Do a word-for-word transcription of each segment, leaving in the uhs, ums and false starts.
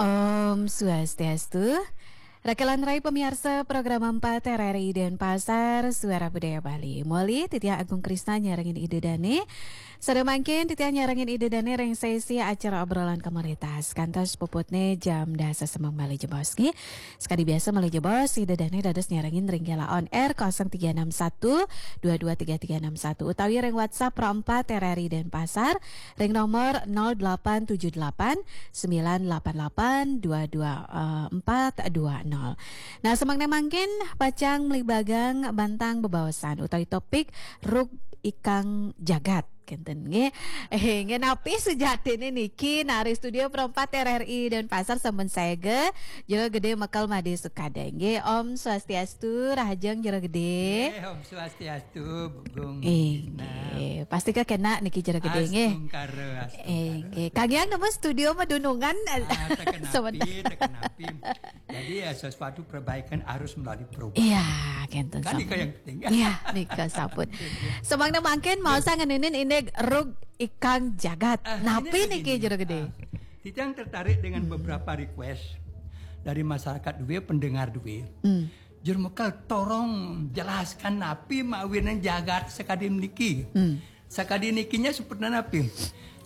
Om Swastiastu. Rakelan rai pamiarsa program empat R R I Denpasar, Suara Budaya Bali. Moli, titiang Agung Krisna nyarengin Ida Dane. Sada mangkin titiang nyarengin Ida Dane ring sesi acara obrolan komunitas. Kantos puputne jam dasa semeng malih jebos nggih. Sakadi biasa malih jebos, Ida Dane dados nyarengin ring Gela On Air kosong tiga enam satu dua dua tiga tiga enam satu utawi ring WhatsApp Pro empat R R I Denpasar ring nomor nol delapan tujuh delapan sembilan delapan delapan dua dua empat dua nol. Nah, semeng mangkin pacang mlibagang bantang bebaosan utawi topik rug ikang jagat. Kenten nggih. Eh, nggih napi sujatine niki, nah, ring studio Pro empat R R I Denpasar sampun saega Jero Gede Mekel Made Sukade nggih. Om Swastiastu, rahajeng Jero Gede. Eh, Om Swastiastu, Bu Gung. Eh, Krisna. Nggih. Pasti kekena niki Jero Gede nggih. Astungkara, astungkara. Eh, nggih. Kang Yang nemu studio madunungan. Ah, tekenapi, sebentar. Tekenapi. Jadi ya sesuatu perbaikan harus melalui perubahan. Iya, kenten. Kan sampun. Nika yang penting. Iya, nika sampun. Semeng mangkin mau saya ngeninin ini rug ikang jagat. Ah, napi ini niki begini. Jero Gede? Ah, titiang tertarik dengan beberapa request dari masyarakat duwe, pendengar duwe. Hmm. Jero Mekel, tolong jelaskan napi mawinan jagat sakadi niki. Hmm. Sakadi nikinya seperti napi?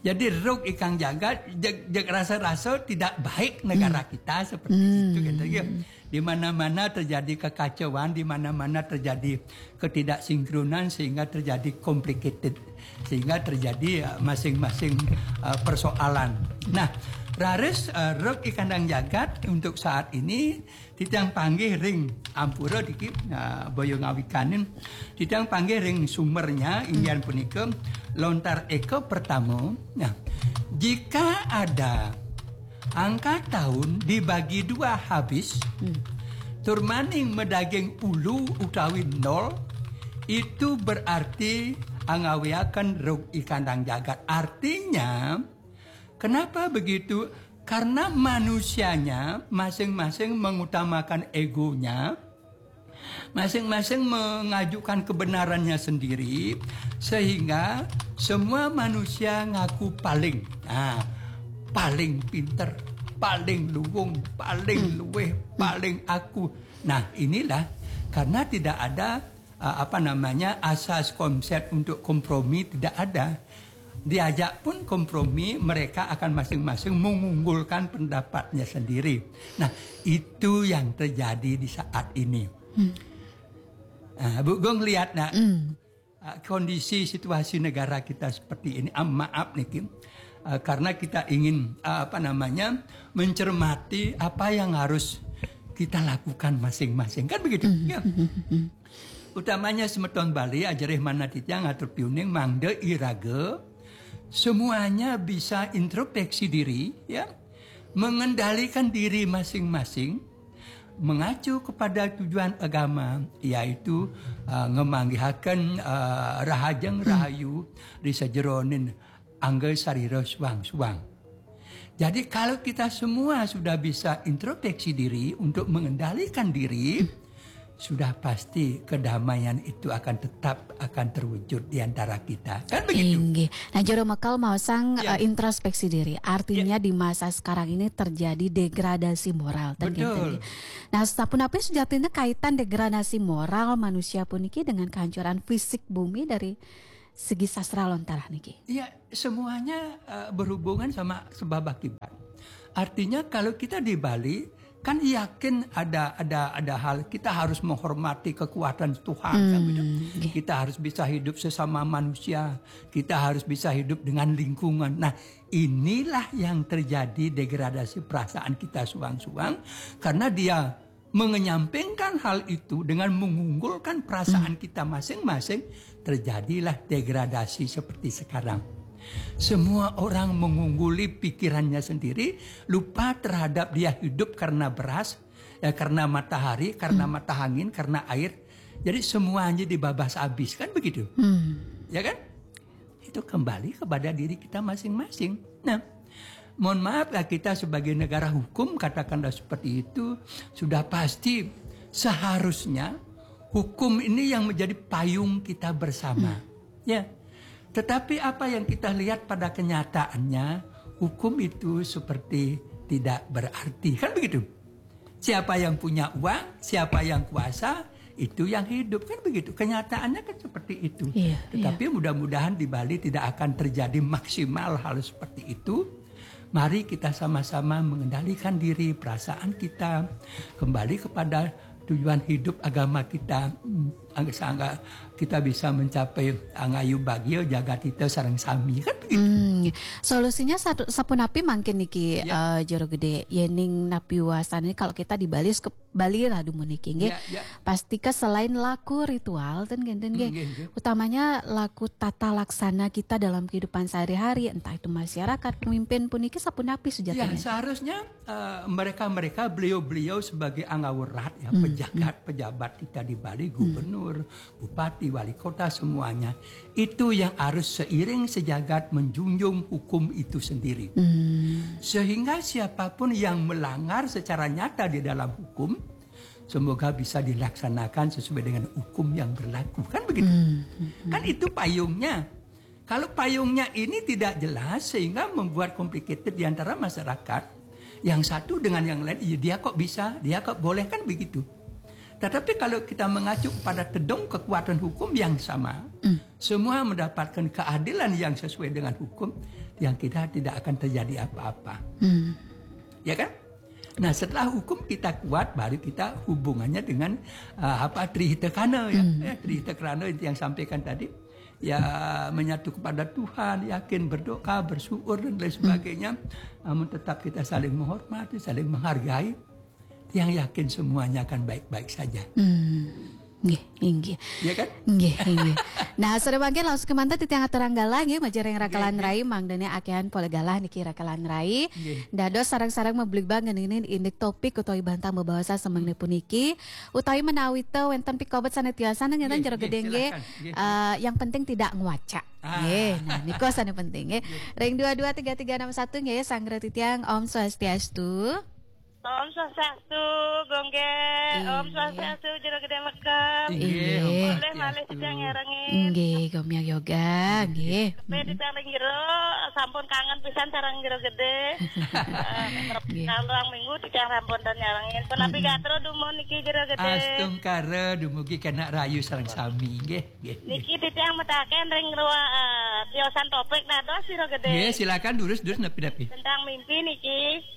Jadi rug ikang jagat, jeg, jeg rasa-rasa tidak baik negara kita seperti itu, gitu ya. Di mana-mana terjadi kekacauan, di mana-mana terjadi ketidaksinkronan sehingga terjadi complicated, sehingga terjadi, eh, masing-masing, eh, persoalan. Nah, raris, eh, rug ikang jagat untuk saat ini titiang panggih ring ampura niki, nah, boya ngawikanin. Titiang panggih ring sumbernya, inggih punika lontar eka pertama. Nah, jika ada angka tahun dibagi dua habis, hmm, tur maning madaging ulu utawi nol, itu berarti angawiaken rug ikang jagat. Artinya, kenapa begitu? Karena manusianya masing-masing mengutamakan egonya, masing-masing mengajukan kebenarannya sendiri, sehingga semua manusia ngaku paling, nah, paling pinter, paling luwung, paling luweh, paling aku. Nah, inilah karena tidak ada, uh, apa namanya, asas konsep untuk kompromi tidak ada. Diajak pun kompromi, mereka akan masing-masing mengunggulkan pendapatnya sendiri. Nah, itu yang terjadi di saat ini. Hmm. Nah, Bu Gung lihat, nak, hmm, uh, kondisi situasi negara kita seperti ini, ah, maaf niki, uh, karena kita ingin, uh, apa namanya, mencermati apa yang harus kita lakukan masing-masing. Kan begitu? Hmm. Ya. Hmm. Utamanya semeton Bali, ajerih manah titiang atur piuning mangda iraga semuanya bisa introspeksi diri, ya, mengendalikan diri masing-masing, mengacu kepada tujuan agama, yaitu, uh, ngamanggihaken, uh, rahajeng rahayu ri sajeroning angga sarira suang-suang. Jadi, kalau kita semua sudah bisa introspeksi diri untuk mengendalikan diri, sudah pasti kedamaian itu akan tetap akan terwujud di antara kita. Kan begitu? Inggih. Nah, Jero Mekel maosang, ya, eh, introspeksi diri. Artinya, ya, di masa sekarang ini terjadi degradasi moral. Betul. Nah, sapunapi sujatiné kaitan degradasi moral manusia puniki dengan kehancuran fisik bumi dari segi sastra lontar niki? Iya, semuanya, eh, berhubungan sama sebab akibat. Artinya, kalau kita di Bali, kan yakin ada, ada, ada hal, kita harus menghormati kekuatan Tuhan, kan gitu. Hmm, nggih. Kita harus bisa hidup sesama manusia, kita harus bisa hidup dengan lingkungan. Nah, inilah yang terjadi degradasi perasaan kita suang-suang, karena dia mengenyampingkan hal itu dengan mengunggulkan perasaan kita masing-masing, terjadilah degradasi seperti sekarang. Semua orang mengungguli pikirannya sendiri, lupa terhadap dia hidup karena beras, ya, karena matahari, karena mata angin, karena air. Jadi semuanya dibabas habis, kan begitu? Hmm. Ya kan? Itu kembali kepada diri kita masing-masing. Nah, mohon maaf ya, kita sebagai negara hukum, katakanlah seperti itu, sudah pasti seharusnya hukum ini yang menjadi payung kita bersama. Hmm. Ya. Tetapi apa yang kita lihat pada kenyataannya, hukum itu seperti tidak berarti. Kan begitu. Siapa yang punya uang, siapa yang kuasa, itu yang hidup. Kan begitu. Kenyataannya kan seperti itu. Iya, iya. Tetapi mudah-mudahan di Bali tidak akan terjadi maksimal hal seperti itu. Mari kita sama-sama mengendalikan diri, perasaan kita, kembali kepada tujuan hidup agama kita, mm, sehingga kita bisa mencapai Angayu Bagia, Jagat Hita sareng sami, kan begitu. Hmm, solusinya satu, sapunapi mangkin niki, ya, eh, Jero Gede, yening napi wasane kalau kita di Bali, ke Bali lah dumun niki, nggih. Ya, ya. Pastika selain laku ritual, ten nggih, ten nggih. Nggih, nggih. Utamanya laku tata laksana kita dalam kehidupan sehari-hari, entah itu masyarakat, pemimpin puniki sapunapi sujatine? Ya, seharusnya, eh, mereka-mereka, beliau-beliau sebagai anggawerat, ya, hmm, pejabat, hmm, pejabat kita di Bali, hmm, gubernur, bupati, wali kota, semuanya. Itu yang harus seiring sejagat menjunjung hukum itu sendiri. Hmm. Sehingga siapapun yang melanggar secara nyata di dalam hukum, semoga bisa dilaksanakan sesuai dengan hukum yang berlaku. Kan begitu? Hmm. Kan itu payungnya. Kalau payungnya ini tidak jelas, sehingga membuat complicated di antara masyarakat, yang satu dengan yang lain, "Iya, dia kok bisa, dia kok boleh," kan begitu. Tetapi kalau kita mengacu pada tedung kekuatan hukum yang sama, hmm, semua mendapatkan keadilan yang sesuai dengan hukum, yang kita tidak akan terjadi apa-apa. Hmm. Ya kan? Nah, setelah hukum kita kuat, baru kita hubungannya dengan, uh, apa, Tri Hita Karana, ya. Hmm. Ya, Tri Hita Karana itu yang sampaikan tadi. Ya, menyatu kepada Tuhan, yakin, berdoa, bersyukur, dan lain sebagainya. Hmm. Namun tetap kita saling menghormati, saling menghargai. Yang yakin semuanya akan baik-baik saja. Hmm. Nggih, inggih. Ya kan? Nggih, inggih. Nah, sore mangkin langsung kemanten titiang aturang galah nggih, majeng ring Raka Lan Rai, mangdane akehan polih galah niki Raka Lan Rai. Nggih. Dados sareng-sareng mabligbagan ngeningi indik topik utawi bantang bebahasa semeng puniki, utawi menawi te wenten pikobet sane tiasan ngeten Jero Gede nggih. Silakan. Nggih. Eh, yang penting tidak ngwaca. Ah. Nggih, nah niku sane penting nggih. Nggih. Ring dua dua tiga tiga enam satu nggih, sanggra titiang Om Swastiastu. Om Swastiastu, Gung Gede. Inggih. Om Swastiastu, Jero Gede Mekem. Inggih, Om Swastiastu. Polih malih titiang nyarengin. Inggih, Gomyang Yoga, nggih. Tapi titiang ring jero sampun kangen pisan sareng Jero Gede. Eh, nggih. Kalih minggu titiang sampun ten nyarengin. Punapi gatra dumun niki Jero Gede. Astungkara dumugi kenak rahayu sareng sami, nggih, nggih, nggih. Niki titiang medalaken ring ruang, eh, tiosan topik dados Jero Gede. Nggih, silakan durus, durus napi-napi. Tentang mimpi niki.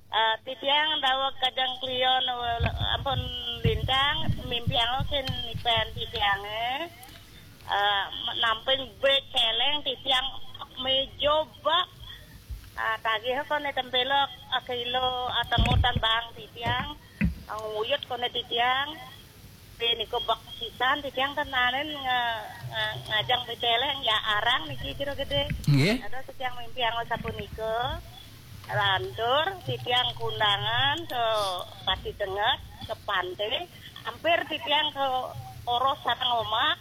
Eh, titiang daweg kajeng klion, eh, ampun lintang, mimpiang kin nipen titiange. Eh, namping bek celeng titiang meja bak. Ah, tagih kone tempelok, ah, kilo, ah, tengutan bang titiang. Ah, nguyut kone titiang. Niku bek sisan titiang tenanen nga-, nga-, ngajeng beceleng ya arang niki Jero Gede. Nggih. Dados titiang mimpi angon sapunika. Lantur titiang kundangan ke Pati Tengah, ke pantai. Hampir titiang ke oros sareng omak.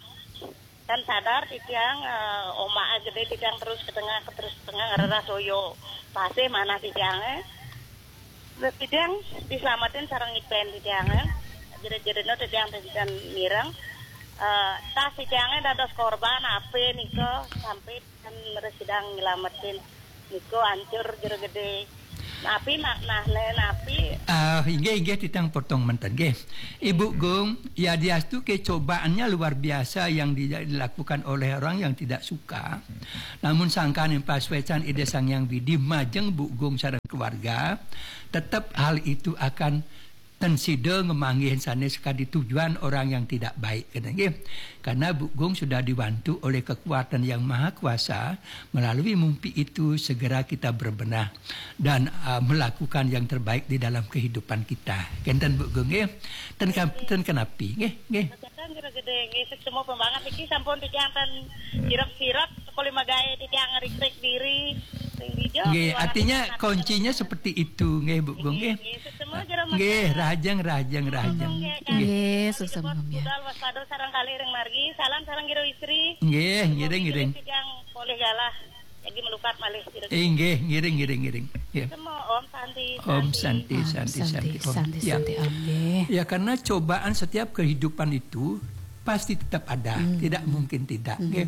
Kan sadar titiang, eh, omak gede titiang terus ke tengah, ke terus ke tengah, ngererah toyo. Pasih manah titiang, eh. Titiang diselamatin sareng ipen titiang, eh. Jerit-jeritno titiang titiang mireng. Eh, tas titiangnya dados korban, ape nika sampai kan residang nyelamatin. Niku ancur Jero Gede. Napi maknane, napi? Ah, inggih, inggih, titiang potong menten, nggih. Ibu Gung, yadiastu ke cobaannya luar biasa yang di-, dilakukan oleh orang yang tidak suka. Namun sangkan pasuecan Ida Sang Hyang Widi majeng Bu Gung sareng keluarga, tetap hal itu akan ten sida ngemanggihin sanes kadi tujuan orang yang tidak baik, kata nggih. Karena Bu Gung sudah dibantu oleh kekuatan yang maha kuasa, melalui mimpi itu segera kita berbenah dan, uh, melakukan yang terbaik di dalam kehidupan kita. Kenten Bu Gung nggih. Ten ka-, ten kenapi nggih, nggih. Kenten Jero Gede nggih, semua pembangat iki sampun titiang ten sirep-sirep, kuli magae titiang ngrik-ngrik diri. Nggih, artinya kuncinya seperti itu, nggih, Bu Gung, nggih. Nggih, nggih, rahajeng, rahajeng, rahajeng. Nggih, nggih, suksma, nggih. Budal waspada sareng kalih ring margi, salam sareng Jero Istri. Nggih, ngiring, ngiring. Titiang polih galah, lagi melukat malih Jero Gede. Inggih, ngiring, ngiring, ngiring. Ya. Semua Om Santi, Om Santi, Santi, Santi, Santi, Om. Santi, ya. Santi, Om, nggih. Ya, karena cobaan setiap kehidupan itu pasti tetap ada, hmm, tidak mungkin tidak. Hmm. Nggih.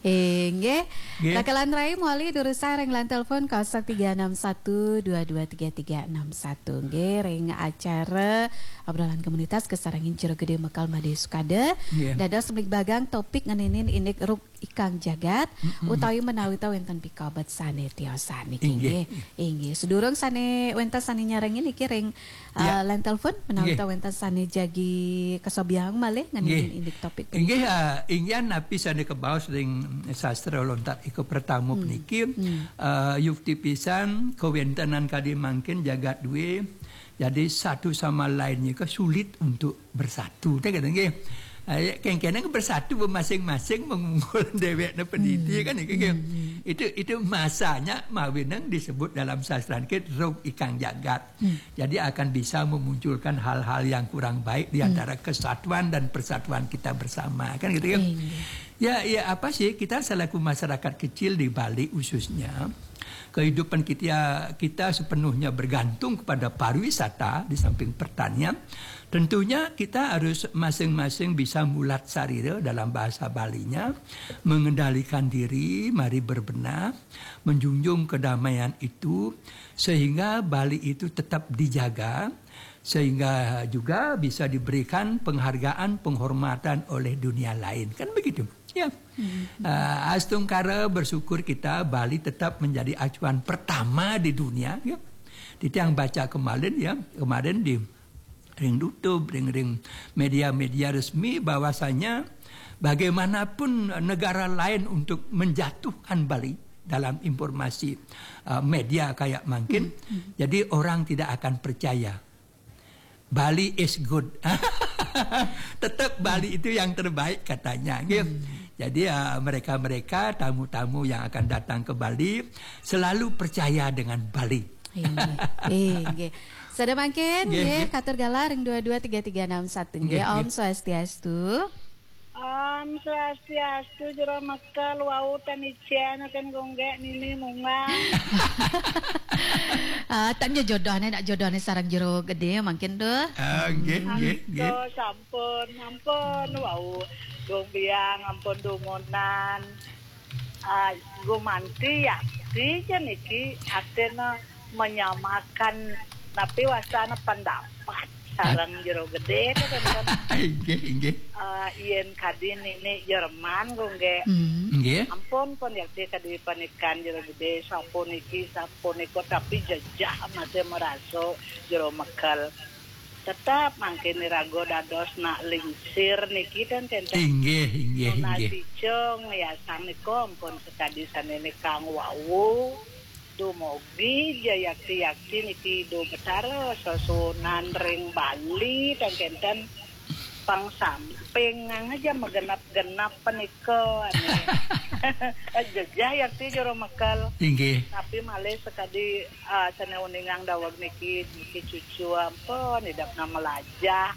Eh, nggih. Nggih. Rakalan rai mawali durusang ring line telepon kosong tiga enam satu dua dua tiga tiga enam satu. Nggih, ring acara obrolan komunitas kasarengin Jero Gede Mekal Madé Sukada. Nggih. Dados mligbagang topik ngeninin indik rug ikang jagat, mm-mm, utawi menawi ta wénten pikabet sané tiosan niki. Inggih. Nggih. Inggih. Sedurung sané wénten sané nyarengin niki ring, ya, eh, line telepon, menawi, nggih, ta wénten sané jagi kasobiahang malih ngeninin, nggih, indik topik. Inggih, eh, inggih napi sané kabaos ring sastra lontar ika pertama, hmm, puniki, hmm, eh, yukti pisan kawéntenan kadi mangkin jagat dué. Jadi satu sama lainnya ke sulit untuk bersatu, teh kata nggih. Ah, ya, kéngkéné bersatu masing-masing mengungkul déwékné pendidi, hmm, kan niki, nggih. Hmm, hmm. Itu, itu masanya mawinan disebut dalam sastra niki rug ikang jagat. Hmm. Jadi akan bisa memunculkan hal-hal yang kurang baik di, hmm, antara kesatuan dan persatuan kita bersama, kan gitu, kan? Iya. Ya, ya, apa sih, kita selaku masyarakat kecil di Bali khususnya, kehidupan kita, kita sepenuhnya bergantung kepada pariwisata di samping pertanian. Tentunya kita harus masing-masing bisa mulat sarira dalam bahasa Balinya, mengendalikan diri, mari berbenah, menjunjung kedamaian itu, sehingga Bali itu tetap dijaga, sehingga juga bisa diberikan penghargaan, penghormatan oleh dunia lain. Kan begitu. Ya. Hmm. Ah, astungkara bersyukur kita, Bali tetap menjadi acuan pertama di dunia, ya. Titiang baca kemarin, ya, kemarin di ring YouTube, ring, ring media-media resmi bahwasanya bagaimanapun negara lain untuk menjatuhkan Bali dalam informasi, ah, media kayak mangkin, hmm, hmm, jadi orang tidak akan percaya. Bali is good. Tetap Bali itu yang terbaik katanya, gitu. Hmm. Jadi, ah, mereka-mereka, tamu-tamu yang akan datang ke Bali, selalu percaya dengan Bali. Inggih. Inggih. Sada mangkin, nggih, nggih, nggih, katur galah ring dua dua tiga tiga enam satu, nggih, nggih, Om, nggih. Swastiastu. Om Swastiastu, Jero Mekal, wau tan icén kan gonggé nini mungan. Ah, tan jodohné, nak jodohné sareng Jero Gedé mangkin tuh. Ah, nggih, nggih, nggih. Aduh, sampun, ampun, wau. Dong biang, ampun dumunan. Ah, gumanti yakti ja niki artinya menyamakan napi wasana pendapat sareng Jero Gedé to kan. Inggih, inggih. Ah, yén kadi nini Jerman gonggé. Hmm. Inggih. Ampun pun yakti kadi panikan Jero Gedé sapuniki sapunika tapi jejeh masih merasa Jero Mekal. Tetap mangkin iraga dados nak lingsir niki ten kénten. Inggih, inggih, inggih. Nasi cung yasang nika ampun sakadi sané nikang wau. Dumugi ja yakti-yakti niki Ida Betara sesuunan ring Bali ten kénten pang samping aja magenep-genep panika. Jejeh yakti Jero Mekal. Inggih. Tapi malih sakadi, ah, sané uningang daweg niki, niki cucu ampun idepna melajah,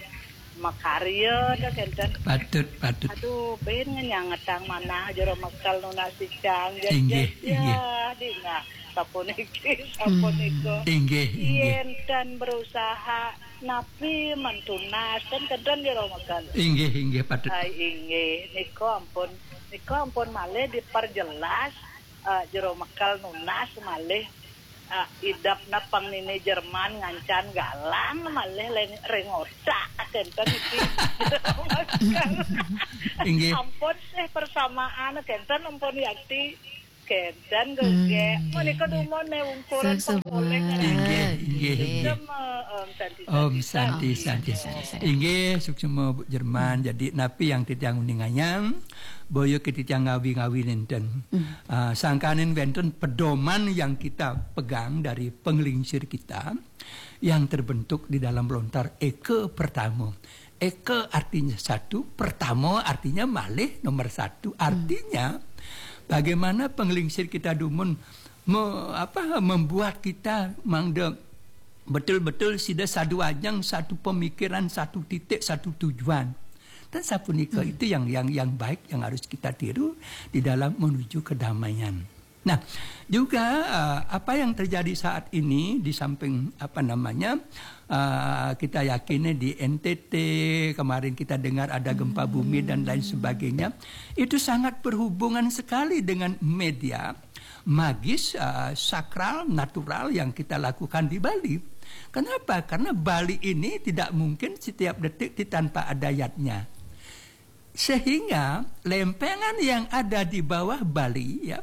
makarya dah kénten. Patut, patut. Aduh, bin ngenyangetang manah Jero Mekal nunas icang. Inggih, jejeh, inggih. Dina sapuniki, sapunika. Hmm. Inggih, inggih. Yén tan berusaha napi mentunas kan kénten Jero Mekal. Inggih, inggih, patut. Ai, inggih, nika ampun, nika ampun malih diperjelas, eh, Jero Mekal nunas malih, eh, idepna pang nini Jerman ngancan galang malih ring, ring otak kénten niki. Jero Mekal. Inggih. Ampun sih persamaan kénten ampun yakti. Kénten gonggé. Hmm, menika nggih, dumun né ungkuran pengkoleng. Inggih, inggih, inggih. Suksma, Om Santi, Om Santi, Santi, Santi. Santi. Inggih, suksma Bu Jerman. Hmm. Jadi napi yang titiang uningayang, boya titiang ngawi-ngawi nénten. Hmm. Ah, sangkaning wénten pedoman yang kita pegang dari penglingsir kita yang terbentuk di dalam lontar eka pertama. Eka artinya satu, pertama artinya malih nomor satu. Hmm. Artinya, bagaimana penglingsir kita dumun me-, apa, membuat kita mangda betul-betul sida sadu ajeng, satu pemikiran, satu titik, satu tujuan. Dan sapunika, hmm, itu yang, yang, yang baik yang harus kita tiru di dalam menuju kedamaian. Nah, juga uh, apa yang terjadi saat ini, di samping apa namanya, uh, kita yakinnya di N T T, kemarin kita dengar ada gempa bumi dan lain sebagainya, itu sangat berhubungan sekali dengan media magis, uh, sakral, natural yang kita lakukan di Bali. Kenapa? Karena Bali ini tidak mungkin setiap detik di-, tanpa ada yatnya. Sehingga lempengan yang ada di bawah Bali, ya,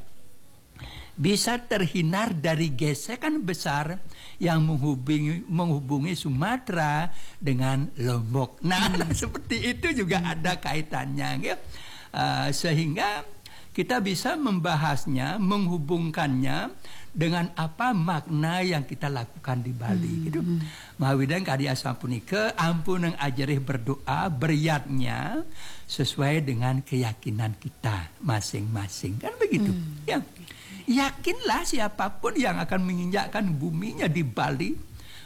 bisa terhindar dari gesekan besar yang menghubungi, menghubungi Sumatera dengan Lombok. Nah, seperti itu juga ada kaitannya, ya. Uh, sehingga kita bisa membahasnya, menghubungkannya dengan apa makna yang kita lakukan di Bali, gitu. Mawinan kadi asapunika, ampun ajerih berdoa, beryatnya sesuai dengan keyakinan kita masing-masing. Kan begitu? Ya. Yakinlah, siapapun yang akan menginjakkan buminya di Bali,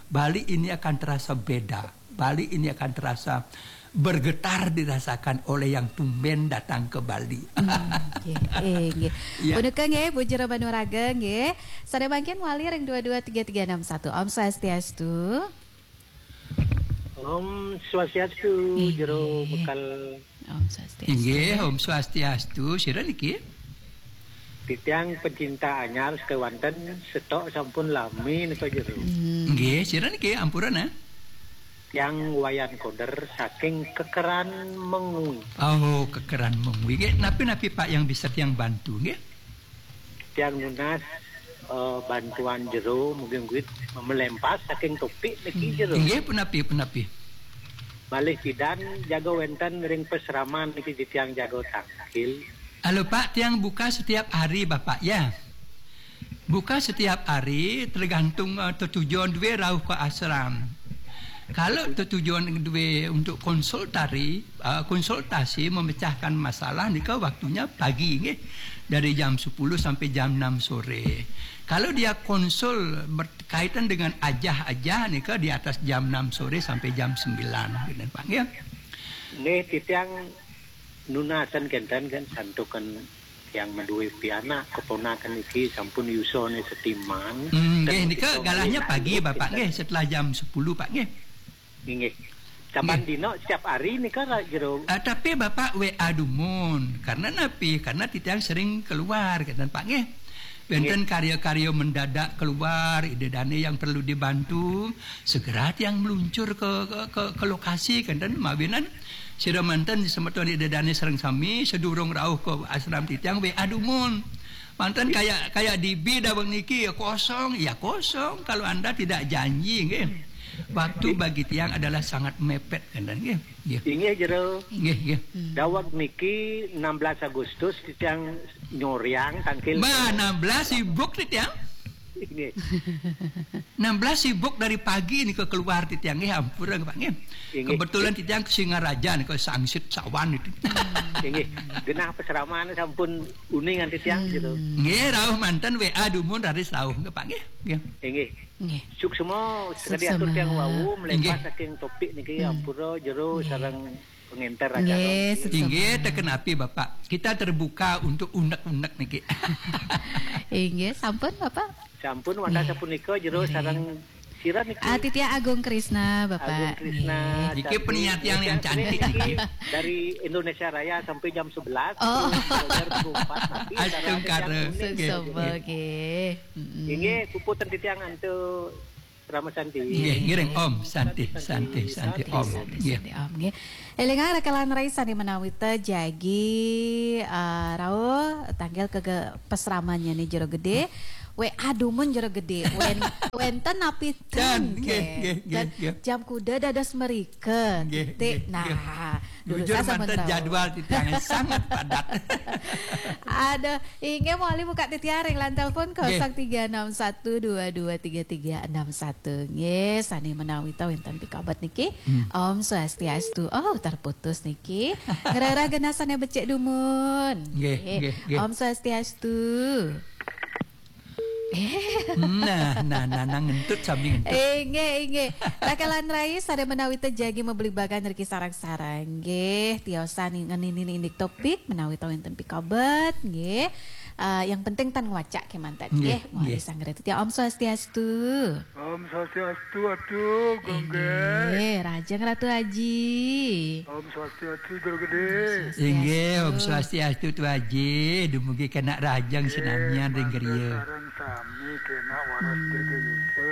Bali ini akan terasa beda. Bali ini akan terasa bergetar dirasakan oleh yang tumben datang ke Bali. Hmm, nggih. Eh, nggih. Ya. Punika nggih, Bu Jero Banuraga nggih. Sané mangkin wali ring dua dua tiga tiga enam satu. Om Swastiastu. Om Swastiastu, Inggih. Jero Bekal. Om Swastiastu. Inggih, Om Swastiastu. Sira niki? Titiang pecinta anyar sekewanten setok sampun lami nika, Jero. Hmm. Nggih, sira niki ampura, nah. Tiang Wayan Koder saking Kekeran Mengwi. Oh, Kekeran Mengwi. Nggih, napi-napi Pak yang bisa tiang bantu, nggih? Tiang nunas, eh, bantuan Jero, mungkin duit melempas saking topik niki, Jero. Nggih, punapi, punapi. Malih pidan jaga wenten ring pasraman niki titiang jaga tangkil. Halo Pak, tiang buka setiap hari Bapak, ya. Buka setiap hari, tergantung, eh, tetujon duwe rauh ke asram. Kalau tetujon duwe untuk konsultari, eh, konsultasi memecahkan masalah nika waktunya pagi, nggih. Dari jam sepuluh sampai jam enam sore. Kalau dia konsul berkaitan dengan ajah-ajah nika di atas jam enam sore sampai jam sembilan, gitu, Pak, nggih. Nggih, titiang nunasan kenten kan santukan yang madué pianak keponakan iki sampun yusane setiman. Hmm, nggih, nika galahnya pagi, Bapak, nggih, setelah jam sepuluh, Pak, nggih. Inggih. Saban dina setiap hari nika, Jero? Ah, tapi Bapak W A dumun. Karena napi? Karena titiang sering keluar, kenten, Pak, nggih. Wenten karya-karya mendadak keluar, ida dane yang perlu dibantu, segera tiang meluncur ke, ke, ke, ke lokasi, kenten, mawinan sira manten semeton ida dane sareng sami, sedurung rauh ke asram titiang, W A dumun. Manten kayak, kayak D B daweg niki, ya kosong, ya kosong. Kalau Anda tidak janji, nggih. Waktu bagi tiang adalah sangat mepet, kenten, nggih. Nggih. Inggih, Jero. Nggih, nggih. Hmm. Daweg niki enam belas Agustus titiang nyoryang tangkil. Bah, enam belas sibuk titiang. Inggih. Enam belas sibuk dari pagi nika keluar titiang, nggih, ampura, Pak, nggih. Inggih. Kebetulan titiang ke Singaraja nika, Sangsit Sawan itu. Inggih. Genah pasraman sampun uningan titiang, Jero. Nggih, rauh manten W A dumun raris rauh, nggih, Pak, nggih. Nggih. Nggih. Nggih. Suksma sekadi atur tiang wau, melepas saking topik niki, ampura, Jero, sareng pengenter acara. Nggih, suksma. Inggih, teken api, Bapak. Kita terbuka untuk unek-unek niki. Inggih, sampun, Bapak. Sampun, wantah sapunika, Jero, sareng sira niki. Ah, titiang Agung Krisna, Bapak. Agung Krisna. Nggih. Niki penyiar tiang yang cantik niki. Dari Indonesia Raya sampai jam sebelas, oh, sampai jam empat, tapi astungkara. Nggih, suksma, nggih. Nggih, puputang titiang antuk Rama Santi. Nggih, ngiring Om Santi, Santi, Santi, Om. Santi, nggih. Santi, Om, nggih. Elingang rakalan rai sane menawi ta jagi, eh, rauh tanggal ke, ke pasramannya nih Jero Gede. We adumun Jero Gede. Wen, wenten napi ten, nggih, nggih, nggih, nggih. Jam kuda dados merika. Nggih, nggih, nah, nggih. Bujur manten jadwal titiang sangat padat. Aduh, inggih malih buka titiang ring line telepon nggih. Kosong tiga enam satu dua dua tiga tiga enam satu. Nggih, sane menawi ta wenten pikabet niki. Hmm. Om Swastiastu. Oh, terputus niki. Ngrereh genah sane becik dumun. Nggih, nggih, nggih. Om Swastiastu. Nah, nah, nah, nah, ngentut sami ngentut. Inggih, inggih. Rakalan rai sane menawi ta jagi mabligbagan riki sareng-sareng. Nggih, tiosan ngenini indik topik menawi ta wenten pikabet, nggih. Eh, yang penting tan ngwacak kémanten. Nggih, nggih. Mohon nggih. Disanggara titiang. Om Swastiastu. Om Swastiastu, Atu Gung Gé. Inggih, rahajeng Ratu Aji. Om Swastiastu, Jero Gedé. Inggih, Om Swastiastu, Tu Aji. Dumugi kenak rahajeng sinamian ring griya. Sareng sami kenak waras jaga yusa.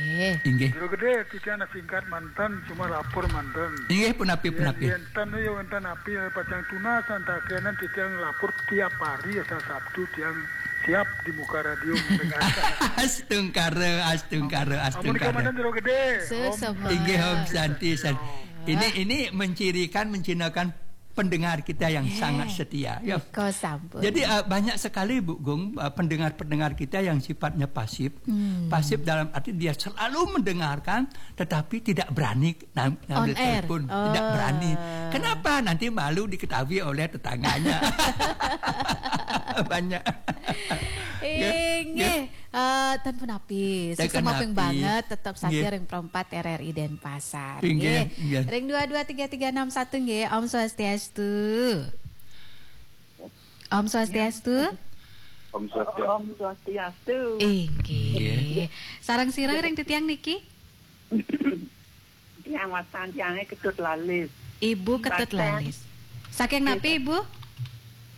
Nggih. Inggih. Jero Gedé, titiang singkat manten, cuma lapor manten. Inggih, punapi, punapi. Yén, yén ten, ya wénten napi pacang tunas, antakénan titiang lapor tiap hari, asal Sabtu tiang siap di muka radio mendengarkan. Astungkara, astungkara, astungkara. Ampun, komandan Jero Gedé. Sesama. Inggih, Om Santi, Santi. Ini, ini mencirikan, mencinakan pendengar kita yang sangat setia, ya. Nika sampun. Jadi, eh, banyak sekali, Bu Gung, eh, pendengar-pendengar kita yang sifatnya pasif. Hmm. Pasif dalam arti dia selalu mendengarkan, tetapi tidak berani nam-, ngambil telepon. On air. Tidak berani. Oh. Kenapa? Nanti malu diketahui oleh tetangganya. Banyak. Inggih. Ya, ya. Eh, ten punapi, sukses maping banget, tetep satia ring Pro empat R R I Denpasar. Inggih, nggih. Ring dua dua tiga tiga enam satu nggih, Om Swastiastu. Om Swastiastu. Om Swastiastu. Om Swastiastu. Inggih. Nggih. Sareng sira ring titiang niki? Tiang wastan tiangé Ketut Lalis. Ibu Ketut Lalis. Saking napi, Ibu?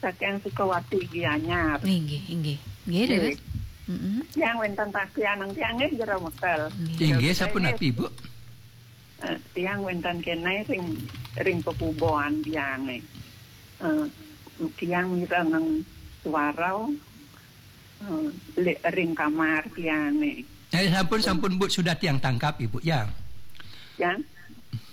Saking Sukawati Gianyar. Inggih, inggih. Nggih, terus? Mm-mm. Tiang wénten tagih aneng tiangé Jero Mekel. Nggih. Inggih, sapunapi, Ibu? Eh, tiang wénten kéné ring, ring pepuboan tiangé. Eh, tiang mirengang suara, eh, ring kamar tiangé. Eh, sampun, sampun, Bu, sudah tiang tangkap, Ibu, ya. Ya.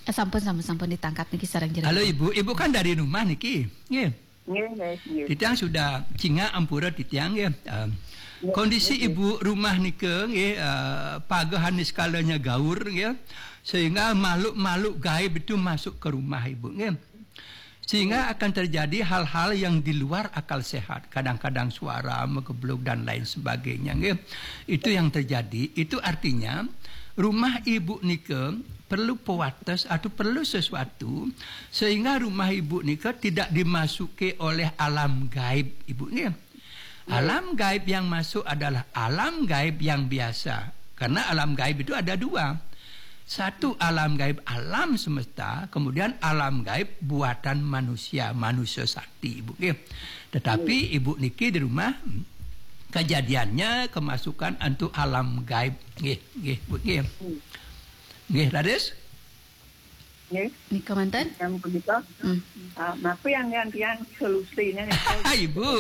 Eh, sampun, sampun, sampun ditangkap niki sareng jenengan. Halo, Ibu. Ibu kan dari rumah niki. Nggih. Nggih, nggih, nggih. Titiang sudah cingak ampura titiang, nggih. Eh, kondisi Ibu rumah nika, nggih, eh, pagahan niskalanya gaur, nggih. Sehingga makhluk-makhluk gaib itu masuk ke rumah Ibu, nggih. Sehingga akan terjadi hal-hal yang di luar akal sehat. Kadang-kadang suara megebluk dan lain sebagainya, nggih. Itu yang terjadi. Itu artinya rumah Ibu nika perlu pewates atau perlu sesuatu sehingga rumah Ibu nika tidak dimasuki oleh alam gaib, Ibu, nggih. Alam gaib yang masuk adalah alam gaib yang biasa. Karena alam gaib itu ada dua. Satu alam gaib alam semesta, kemudian alam gaib buatan manusia, manusia sakti, Ibu, nggih. Tetapi Ibu niki di rumah, kejadiannya kemasukan antuk alam gaib. Nggih, nggih, Bu, nggih. Nggih, Raris? Nggih. Nika manten? Yang punika, hmm. Ah, napa yang, yang, yang solusinya nika? Ibu.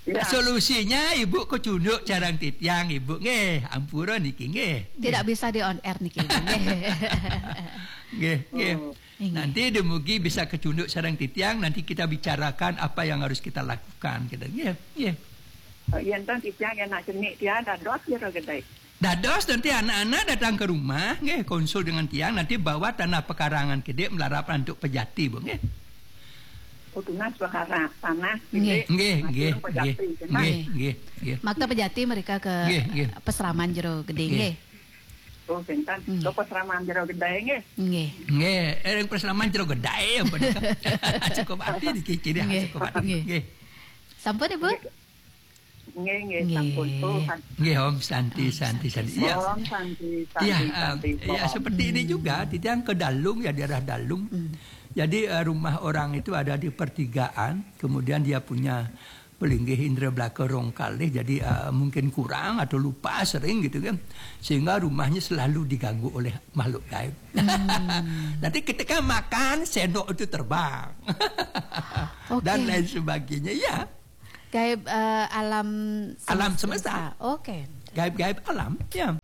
Ya. Solusinya Ibu kecunduk sareng titiang, Ibu, nggih. Ampura niki, nggih. Tidak bisa di on air niki, Ibu, nggih. Nggih, nggih. Oh. Inggih. Nanti dumugi bisa kecunduk sareng titiang, nanti kita bicarakan apa yang harus kita lakukan, gitu. Nggih, nggih. Oh, yen ten titiang yen nak cenik tiang dados Jero Gedé. Dados nanti anak-anak datang ke rumah, nggih, konsul dengan tiang, nanti bawa tanah pekarangan kidik melarap antuk pejati, Bu, nggih. Oh, tunas perkara tanah, nggih. Nggih, nggih, nggih. Nggih, nggih, nggih. Makta pejati mereka ke nggih, nggih. Pesraman Jero Gedé, nggih. Nggih. Oh, sinten? Nggih. Ke pesraman Jero Gedé, nggih. Nggih. Nggih, eh, pesraman Jero Gedé, apa nika? Cukup ati dikikiri, nggih. Cukup ati. Nggih. Nggih. Sampun, Ibu? Nggih. Nggih, nggih, nggih. Sampun. Oh, kan. Nggih, Om Santi, Om Santi, Santi, Santi. Santi. Ya. Om Santi, Santi, ya, Santi. Ya, seperti ini juga, titiang ke Dalung, ya, daerah Dalung. Hmm. Jadi, eh, rumah orang itu ada di pertigaan, kemudian dia punya pelinggih indra belaka rong kalih, jadi, eh, mungkin kurang atau lupa sering gitu kan. Sehingga rumahnya selalu diganggu oleh makhluk gaib. Hmm. Nanti ketika makan, sendok itu terbang. Oke. Dan lain sebagainya, ya. Gaib, eh, alam semesta. Alam semesta. Oke. Gaib-gaib alam, ya.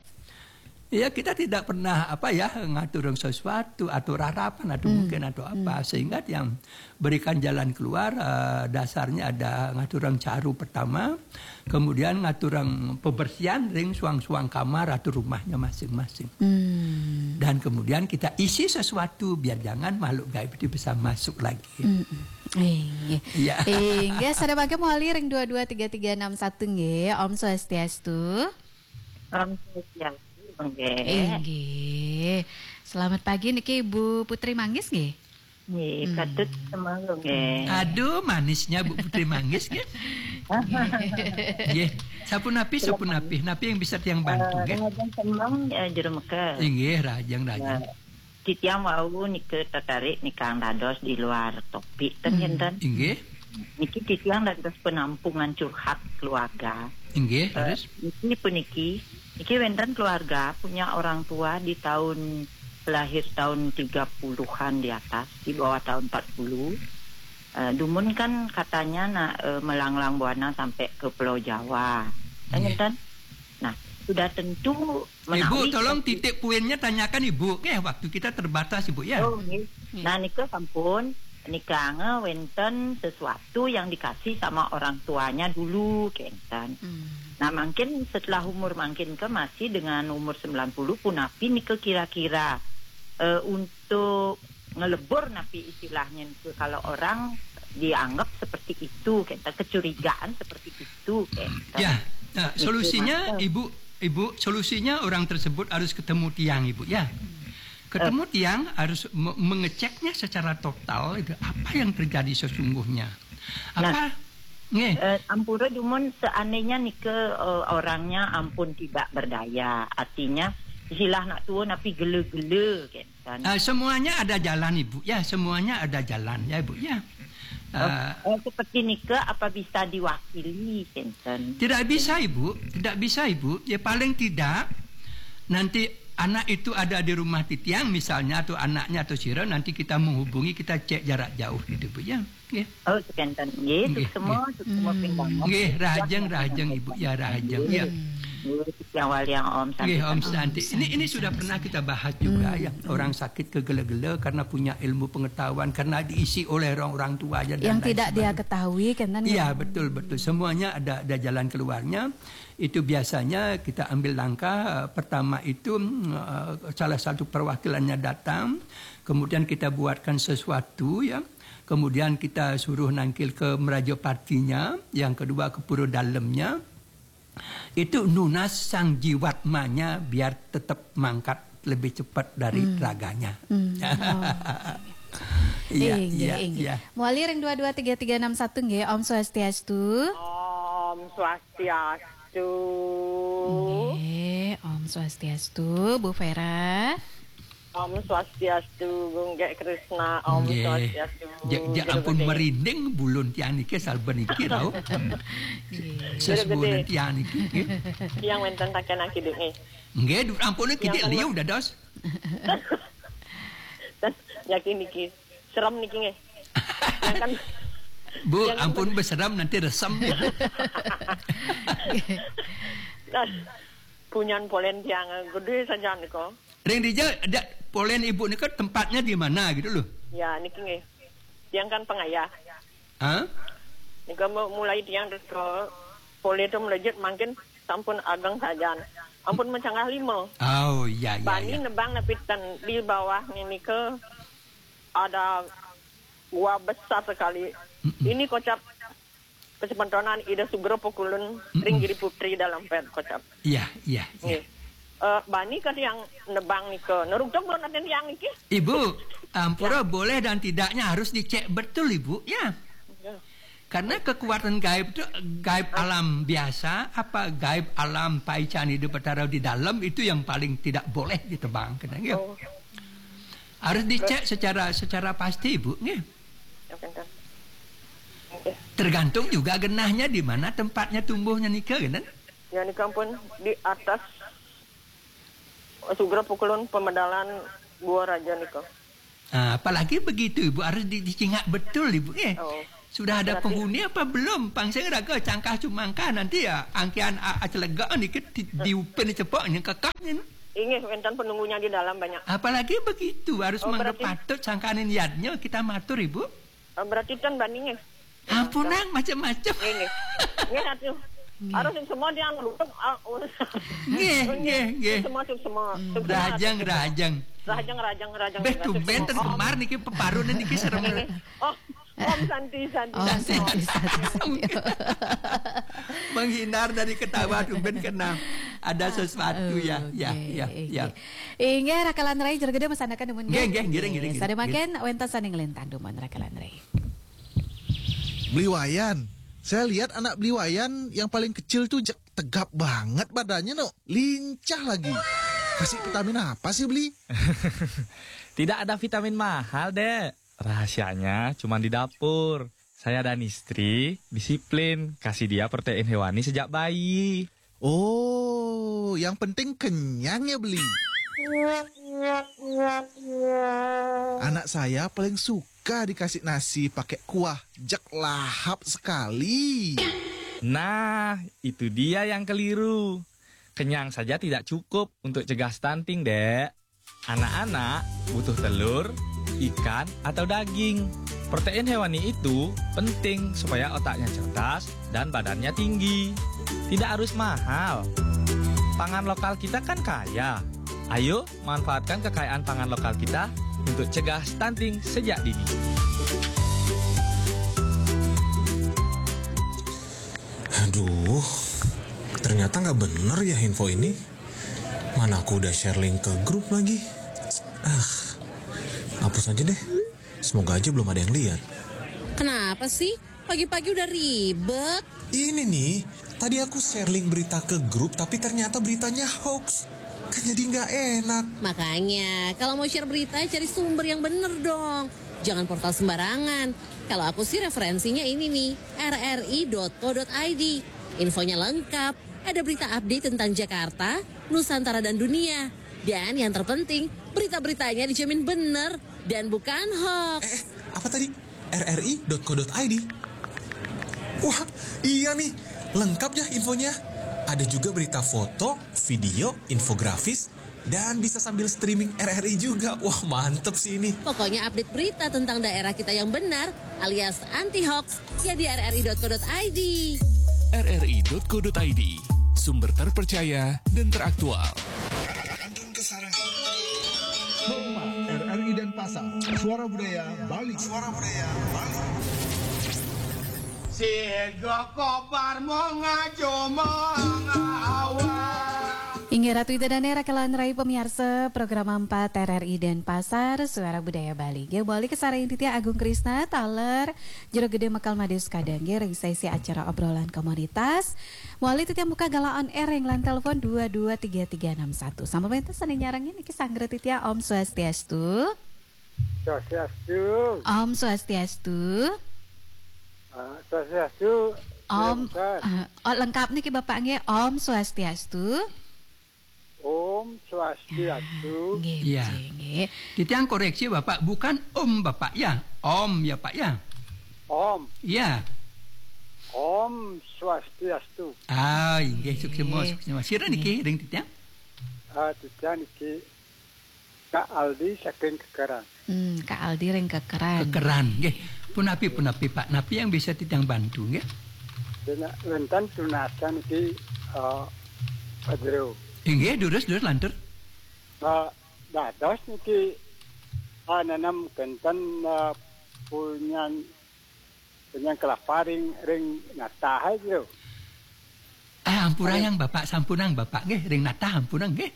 Ya, kita tidak pernah, apa ya, ngaturang sesuatu atau rarapan atau hmm. mungkin atau apa. Hmm. Sehingga yang berikan jalan keluar, eh, dasarnya ada ngaturang caru pertama, kemudian ngaturang pembersihan ring suang-suang kamar atau rumahnya masing-masing. Hmm. Dan kemudian kita isi sesuatu biar jangan makhluk gaib itu bisa masuk lagi. Hmm. Inggih. Iya. Inggih, sada mangke mawali ring dua dua tiga tiga enam satu nggih. Om Swastiastu. Om Swastiastu, nggih. Inggih. Selamat pagi niki Ibu Putri Manggis nggih. Nggih, hmm. Patut semanggung nggih. Aduh, manisnya Bu Putri Manggis nggih. Nggih. Sapunapi, sapunapi, napi yang bisa tiang bantu, nggih? Rahajeng semeng, eh, Jero Mekel. Inggih, rahajeng, rahajeng. Nah, titiang wau nika tertarik nikang dados di luar topik ten, hmm, ngenten. Inggih. Niki titiang dados penampungan curhat keluarga. Inggih, eh, terus? Niki puniki, niki wenten keluarga punya orang tua di tahun, lahir tahun tiga puluhan di atas, di bawah tahun empat puluh. Eh, dumun kan katanya nak, eh, melanglang buana sampai ke Pulau Jawa. Kan, iya, ngenten? Nah, sudah tentu, Ibu, menawi tolong titik poinnya tanyakan Ibu, nggih, waktu kita terbatas, Ibu, ya. Oh, nggih. Nggih. Nah, nika sampun, nika nge wenten sesuatu yang dikasih sama orang tuanya dulu, kenten. Hmm. Nah, mungkin setelah umur mungkin ke masih dengan umur sembilan puluh punapi nika kira-kira, eh, untuk ngelebur napi istilahnya itu, kalau orang dianggap seperti itu, kita kecurigaan seperti itu, kita. Ya, nah, solusinya, Ibu, Ibu, solusinya orang tersebut harus ketemu tiang, Ibu, ya. Ketemu tiang harus me- mengeceknya secara total, itu apa yang terjadi sesungguhnya. Apa? Nah, nggih. Eh, ampura dumun, seandainya nika, eh, orangnya ampun tidak berdaya, artinya silah nak tua napi gele-gele, kan. Ah, semuanya ada jalan, Ibu. Ya, semuanya ada jalan, ya, Ibu, ya. Ah, oh, seperti nika, apa bisa diwakili, kenten? Tidak bisa, Ibu. Tidak bisa, Ibu. Ya, paling tidak nanti anak itu ada di rumah titiang misalnya, atau anaknya atau sira, nanti kita menghubungi, kita cek jarak jauh gitu, Bu, ya. Nggih. Oh, sekenten. Nggih, nggih, suksema, nggih. Suksema pindang. Nggih, rahajeng, rahajeng, Ibu. Ya, rahajeng. Ya. Nggih, yang waliang Om Santi. Nggih, Om Santi. Ini, ini sudah pernah kita bahas juga, ya. Orang sakit kegele-gele karena punya ilmu pengetahuan, karena diisi oleh orang-orang tua aja dan lain sebagainya. Yang tidak dia ketahui, kan, kan? Iya, betul, betul. Semuanya ada, ada jalan keluarnya. Itu biasanya kita ambil langkah, eh, pertama itu, mm, eh, salah satu perwakilannya datang, kemudian kita buatkan sesuatu, ya. Kemudian kita suruh nangkil ke meraja partinya, yang kedua ke pura dalamnya. Itu nunas sang jiwatmanya biar tetap mangkat lebih cepat dari, hmm, raganya. Hmm. Oh. Iya, inggih, iya, inggih. Iya. Mawali ring dua dua tiga tiga enam satu nggih, Om Swastiastu. Om Swastiastu. Nggih, Om Swastiastu, Bu Vera. Om Swastiastu, Gung Gek Krisna, Om Swastiastu. Nggih. Ja, ja, ampun, merinding bulun tiang niki, saben niki, rauh. Nggih. Sesepuhun tiang niki, nggih. Tiang wenten taken akiduk, nggih. Nggih, du-, ampun, tiang kidik kan liu dados. Yakin niki. Serem niki, nggih. Tiang kan, Bu, tiang kan ampun, beserem nanti resem. Dan punyan polen tiang gede saja nika. Ring dija, da-, polen Ibu nika tempatnya di mana gitu loh? Ya, niki nggih. Tiang kan pengayah. Hah? Nika mu-, mulai tiang ke polen tu melejit mangkin sampun ageng sajan. Ampun mencanggah lima. Oh, iya, iya, bani iya. Nebang napi ten di bawah ni nika ada gua besar sekali. Mm-mm. Ini kocap kesepentonan Ida Sugra Pukulun, mm-mm, ring Giri Putri dalam pet kocap. Iya, iya, iya. Nggih. Eh, bani ka tiang nebang nika. Neruntuk belum nanti tiang niki? Ibu, ampura, ya, boleh dan tidaknya harus dicek betul, Ibu, ya. Ya. Karena kekuatan gaib itu gaib alam biasa, apa gaib alam paican hidup Betara di dalam itu yang paling tidak boleh ditebang, kena, ya. Oh. Harus dicek secara, secara pasti, Ibu, nggih. Ya, pinter. Nggih. Tergantung juga genahnya di mana tempatnya tumbuhnya nika, kan? Ya, nika pun di atas Sugra Pukulun Pemedalan Gua Raja nika. Ah, apalagi begitu, Ibu, harus di-, dicingak betul, Ibu, eh. Oh. Sudah ada berarti penghuni apa belum? Pang sing raga cangkah cumangkah nanti ya, angkian a-, acelega niki di-, diupin cepok nih, kekah nih. Inggih, wenten penunggunya di dalam banyak. Apalagi begitu, harus, oh, mangga berarti patut sangkanin yadnya kita matur, Ibu. Oh, berarti ten bani, nggih. Ampun, nang, macam-macam. Nggih, nggih. Nggih, atuh. Nggih. Harus semua dia ngerutuk, ah, oh. Nggih, nggih, nggih. Semua, semua. Hmm. Semua, rahajeng, semua. Rahajeng. Rahajeng, rahajeng, rahajeng. Beh, rahajeng, tumben semua. Ten kemar niki peparun niki serem. Nggih, nggih. Oh, Om Santi, Santi, Om Santi. Santi, Santi, Santi. Menghindar dari ketawa, tumben kena ada sesuatu, ya, ya, oke, ya, ya. Inggih, rakalan rai, jero gede masanakan dumun, nggih, nggih, nggih, nggih, nggih. Sadewaken wenten sane nglintang dumun, rakalan rai. Beli Wayan. Saya lihat anak Beli Wayan yang paling kecil tuh je- tegap banget badannya, no. Lincah lagi. Kasih vitamin apa sih, Beli? Tidak ada vitamin mahal, Dek. Rahasianya cuma di dapur. Saya dan istri disiplin kasih dia protein hewani sejak bayi. Oh, yang penting kenyang ya, Beli. Anak saya paling suka dikasih nasi pakai kuah. Jek lahap sekali. Nah, itu dia yang keliru. Kenyang saja tidak cukup untuk cegah stunting, Dek. Anak-anak butuh telur, ikan, atau daging. Protein hewani itu penting supaya otaknya cerdas dan badannya tinggi. Tidak harus mahal. Pangan lokal kita kan kaya. Ayo, manfaatkan kekayaan pangan lokal kita untuk cegah stunting sejak dini. Aduh, ternyata nggak bener ya info ini. Mana aku udah share link ke grup lagi. Ah, hapus aja deh. Semoga aja belum ada yang lihat. Kenapa sih? Pagi-pagi udah ribet. Ini nih, tadi aku share link berita ke grup tapi ternyata beritanya hoax. Kan jadi nggak enak. Makanya, kalau mau share berita, cari sumber yang bener dong. Jangan portal sembarangan. Kalau aku sih referensinya ini nih, rri.co.id. Infonya lengkap, ada berita update tentang Jakarta, Nusantara dan dunia. Dan yang terpenting, berita-beritanya dijamin bener dan bukan hoax. Eh, apa tadi? rri.co.id. Wah, iya nih, lengkap ya infonya. Ada juga berita foto, video, infografis, dan bisa sambil streaming R R I juga. Wah, mantep sih ini. Pokoknya update berita tentang daerah kita yang benar alias anti hoax ya di rri.co.id. rri.co.id, sumber terpercaya dan teraktual. Homa R R I Denpasar, Suara Budaya Bali. Suara Budaya Bali. Si Ega Kobar mau ngaco mau ngawal. Inggih Ratu Ida Dane, rakelan rai pamiarsa program empat R R I Denpasar, Suara Budaya Bali. Nggih, balik ke sareng titiang Agung Krisna, taler Jero Gede Mekal Made Sukadang, nggih, ring sesi acara obrolan komunitas. Mawali titiang buka galah on air ring line telepon dua dua tiga tiga enam satu. Sampun wénten sané nyarengin niki, sanggra titiang, Om Swastiastu. Swastiastu. Om Swastiastu. Ah, Swastiastu. Om, Bukan. Ah, oh, lengkap niki Bapak nggih, Om Swastiastu. Om Swastiastu. Nggih, Iya. nggih, nggih. Titiang koreksi Bapak, bukan Om Bapak ya, Om ya Pak ya. Om. Iya. Om Swastiastu. Ah, inggih, suksma, suksma. Sira niki ring titiang? Ah, titiang niki Kak Aldi saking Kekeran. Hmm, Kak Aldi ring Kekeran. Kekeran, nggih. Punapi, punapi Pak, napi yang bisa titiang bantu nggih? Dina wénten tunasan niki eh, Pak Jero. Inggih, durus, durus lantur. Eh, dados niki eh, nanam kenten eh, punyan punyan kelapa ring ring natah aja. Ah, ampurayang Bapak, sampunang Bapak nggih, ring natah ampunang nggih.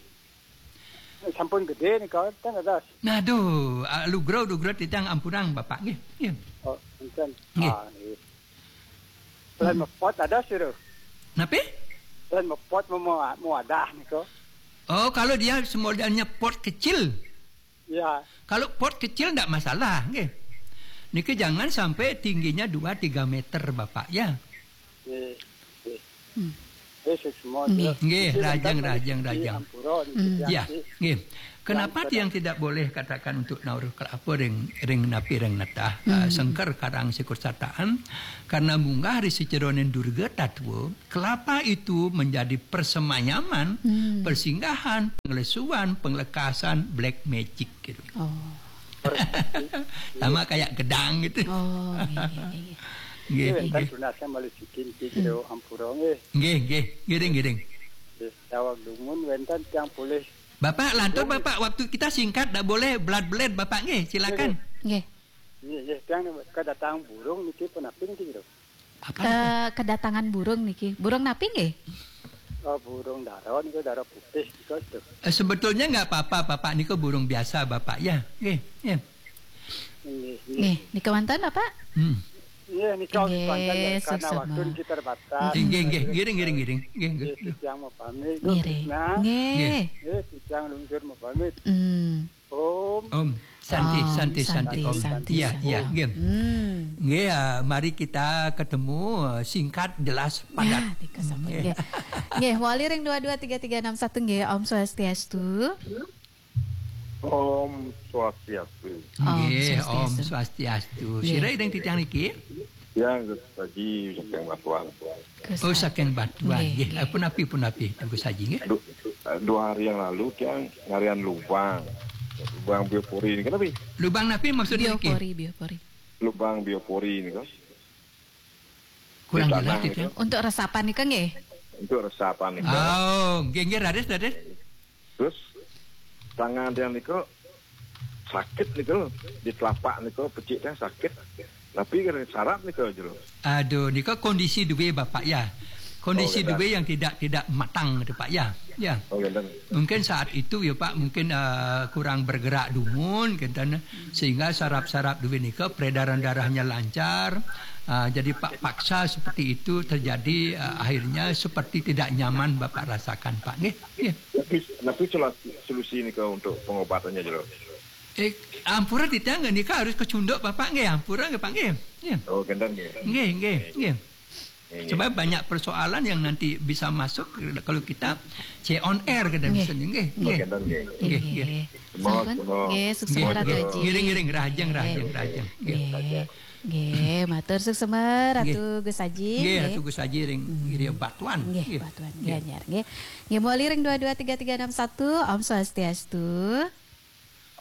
Sampun gedé nika ten dados. Naduh, ah, lugra, lugra titiang ampunang Bapak nggih. Nggih. Oh, enten. Nggih. Ah, nggih. Lain mepot dados sira. Napi? Lain mepot mau mau wadah nika. Oh, kalau dia semodelnya pot kecil. Ya. Kalau pot kecil ndak masalah, nggih. Niki jangan sampai tingginya dua tiga meter, Bapak ya. Nggih. Nggih. Hmm. Nggih, suksma. Nggih. Nggih, Nggih, rajang, tentang rajang, rezeki rajang. Ampura niki Hmm. titiang Ya, niki. nggih. Kenapa Yang tiang tidak boleh katakan untuk nauruh kelapa ring ring napi ring natah, ah, sengker karang sikur sataan? Karena munggah ri sajeroning durga tatwa, kelapa itu menjadi persemayaman, Hmm. persinggahan, penglesuan, penglekasan, black magic gitu. Oh. Sama kayak gedang gitu. Oh, nggih, nggih, nggih. Nggih, Nggih, wénten nggih. Tunasan malih sikin niki jero ampura nggih. Nggih, nggih. Ngiring, ngiring. Nggih, daweg dumun wénten tiang polih. Bapak, lantur Bapak, waktu kita singkat, ndak boleh belat-belat Bapak nggih, silakan. Nggih. Nggih, nggih, tiang kedatang burung niki punapi niki jero. Apa? Ke- kedatangan burung niki. Burung napi nggih? Oh, burung dara niku dara putih niku tuh. Eh, sebetulnya nggak apa-apa, Bapak niku burung biasa, Bapak ya. Nggih, nggih. Nggih, nggih. Nggih, nika wonten Bapak? Hmm. Nggih, nika Nggih, panjang ya, karena suksma. Waktu kita terbatas. Nggih, nggih, ngiring, ngiring, ngiring. Nggih, nggih. Nggih, titiang mau pamit, Nggih. Nggih. Nggih, titiang lungsur mau pamit. Hmm. Om. Om. Santi, Om, santi, santi, santi, Om. Santi, Iya, santi. Iya, nggih. Hmm. Nggih, ah, mari kita ketemu, eh, singkat, jelas, padat. Ya, nika sampun, Nggih. Nggih. Nggih, wali ring dua dua tiga tiga enam satu nggih, Om Swastiastu. Om Swastiastu. Om Nggih, Om Swastiastu. Swastiastu. Nggih. Sira ring titiang niki? Tiang Gus Haji saking Batuan. Gus Oh, Haji. Saking Batuan. Nggih, Nggih, nggih. Punapi, punapi, Gus Haji, nggih. Du-, dua hari yang lalu tiang ngarian lubang. Lubang biopori ini kenapa? Lubang napi maksudnya niki? Biopori, biopori. Lubang biopori ini kan. Kurang Di jelas tanah itu. Itu. Untuk resapan nika nggih? Untuk resapan nika. Oh, nggih, nggih, raris, raris. Terus tangan tiang nika sakit nika, di telapak nika, pecik tiang sakit. Tapi kan sarap nika jero. Aduh, nika kondisi dua, Bapak, ya. Kondisi Oh, dua yang tidak, tidak matang itu, Pak, ya. Ya. Oh, ngenten. Mungkin saat itu ya, Pak, mungkin, eh, kurang bergerak dumun, ngenten, sehingga sarap-sarap dua nika peredaran darahnya lancar. Ah, jadi, Pak, paksa seperti itu terjadi, eh, akhirnya seperti tidak nyaman Bapak rasakan, Pak, nggih. Nggih. Tapi, tapi solu-, solusi nika untuk pengobatannya jero. Eh, ampura titiang nika harus kecunduk Bapak nggih, ampura nggih Pak nggih. Nggih. Oh, ngenten nggih. Nggih, nggih, nggih. Nggih, nggih. Sebab banyak persoalan yang nanti bisa masuk kalau kita C on air ke dalam Nggih. Sini nggih. Oh, Nggih. Ngenten nggih. Nggih, nggih. Nggih. Sampun. Sampun. Nggih, sukses Nggih, Ratu nggih. Haji. Ngiring, ngiring, rahajeng, rahajeng, Nggih. Rahajeng. Nggih. Nggih. Nggih, matur suksma Ratu Nggih. Gus Haji, Nggih, nggih. Ratu Gus Haji ring Hmm. Giri Batuan. Nggih, Nggih. Batuan Nggih. Gianyar, nggih. Nggih, mawali ring dua dua tiga tiga enam satu. Om Swastiastu.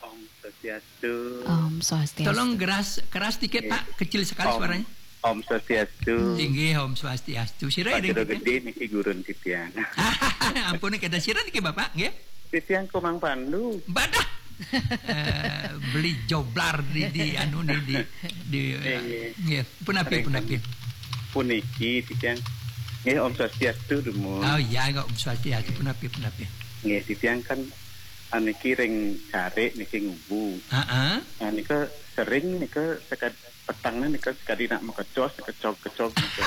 Om Swastiastu. Om Swastiastu. Tolong keras, keras dikit, Nggih. Pak. Kecil sekali Om, suaranya. Om Swastiastu. Inggih, Om Swastiastu. Sira Pak ring Jero titiang? Gede niki gurun titiang. Ampun, kada sira niki, Bapak, nggih? Titiang Komang Pandu. Badah. Eh, beli joblar di, di anu ni, di, di, Inggih. Nggih, punapi, Ring punapi. Puniki titiang. Nggih, Om Swastiastu, dumun. Oh, iya, enggak, Om Swastiastu, punapi, punapi. Nggih, titiang kan, ah, niki ring carik niki ngubu. Heeh. Nah, nika sering nika sekad-, petangnya nika sekadi nak makecos, kecog-kecog nika.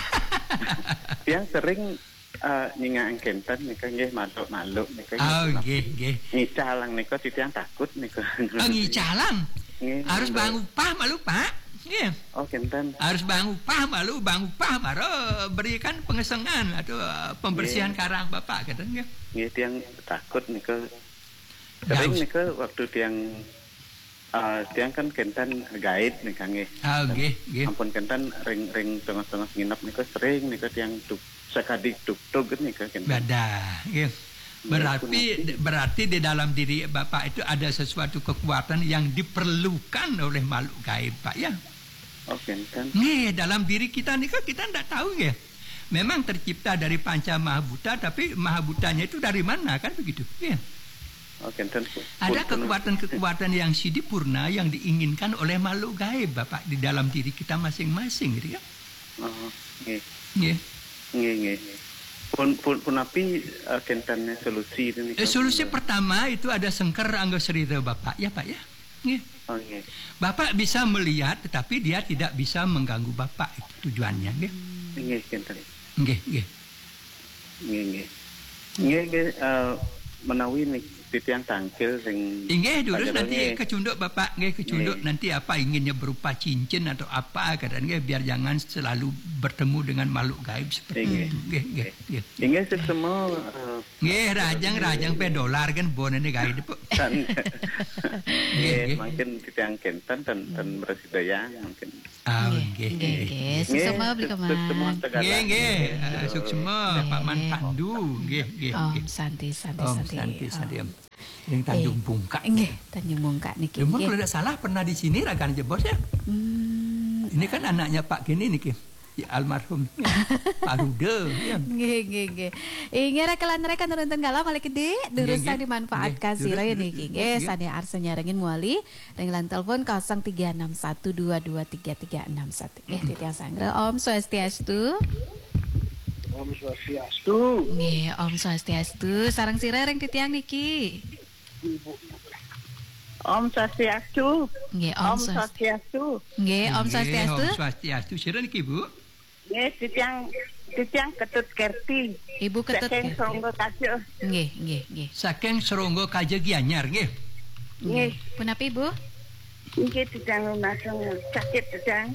Tiang sering, eh, nyingak kenten nika nggih, maluk-maluk nika nggih, Oh, punapi. Nggih, nggih. Ngicalang nika titiang takut nika. Ah, ngicalang? Nggih, Harus nggih. Bang upah malu, Pak. Nggih. Oh, kenten. Harus bang upah malu, bang upah mara berikan pengesengan atau, eh, pembersihan Nggih. Karang Bapak, kenten nggih. Nggih, tiang takut nika. Sering Daus. Nika waktu tiang, eh, tiang kan kenten gaib nika nggih. Ah, nggih, nggih. Ampun kenten ring, ring tengah-tengah nginep nika sering nika tiang tuk, sakadi tuk-tuk nika kenten. Badah, nggih. Nggih, Berarti, punapi. Berarti di dalam diri Bapak itu ada sesuatu kekuatan yang diperlukan oleh makhluk gaib, Pak, ya? Oh, kenten. Nggih, dalam diri kita nika kita ndak tahu, nggih. Memang tercipta dari panca mahabuta, tapi mahabutanya itu dari mana, kan begitu? Iya. Oh, kenten. Pun, Ada pun, kekuatan-kekuatan yang sempurna yang diinginkan oleh makhluk gaib, Bapak, di dalam diri kita masing-masing, gitu ya. Oh, nggih. Nggih. Nggih, nggih. Pun, pun, punapi, eh, kenten solusi itu nih, Eh, solusi kalau pertama itu ada sengker angga serira Bapak, ya, Pak, ya? Nggih. Oh, nggih. Bapak bisa melihat, tetapi dia tidak bisa mengganggu Bapak. Itu tujuannya, nggih. Nggih, kenten. Nggih, nggih. Nggih, nggih. Nggih, nggih, eh, menawi nih, titiang tangkil sing Inggih, durus Pak Jero, nanti nggih. Kecunduk Bapak, nggih, kecunduk Nggih. Nanti apa inginnya berupa cincin atau apa, kadang nggih, biar jangan selalu bertemu dengan makhluk gaib seperti Inggih. Itu. Nggih, nggih, nggih. Inggih, sesemo, eh, Nggih, rajang, rajang pe dolar kan bonene gaib, Pak. Tan-, Nggih, nggih, nggih. Mungkin titiang kenten, tan, tan Hmm. Bersidayang, mungkin. Ah, Nggih, nggih, nggih, nggih. Nggih. Nggih, suksma, Beli Kemang. Suksma, Tegalan. Nggih, nggih. Ah, Nggih. Suksma, Pak Man Nggih. Pandu. Nggih, nggih, Om, nggih. Santi, santi, Om, santi. Santi, Om. Santi, Om. Yang Tanjung Eh, Bungkak. Nggih, Tanjung Bungkak niki, Cuma nggih. Kalau tidak salah pernah di sini rakan jebos ya. Hmm. Ini kan anaknya Pak Gini niki. Ya, almarhum. Ya. Pak Rude, ya. Nggih, nggih, nggih. Inggih, rekan-rekan nonton galah malih gedhe, durus Nggih, nggih. Dimanfaatkan Nggih, sira durus, niki, durus, nggih, nggih. Sane arsa nyarengin muali ring line telepon kosong tiga enam satu dua dua tiga tiga enam satu. Nggih, titiang sanggra. Om Swastiastu. Om Swastiastu. Nggih, Om Swastiastu. Sareng sira ring titiang niki. Ibu. Om Swastiastu. Nggih, Om Swastiastu. Nggih, Om Swastiastu. Om Swastiastu. Sira niki, Bu? Nggih, titiang titiang Ketut Kerti. Ibu Ketut Kerti. Saking Seronggo Kaja. Nggih, nggih, nggih. Saking Seronggo Kaja Gianyar, nggih. Nggih. Punapi, Bu? Nggih, titiang lumangsung sakit, titiang.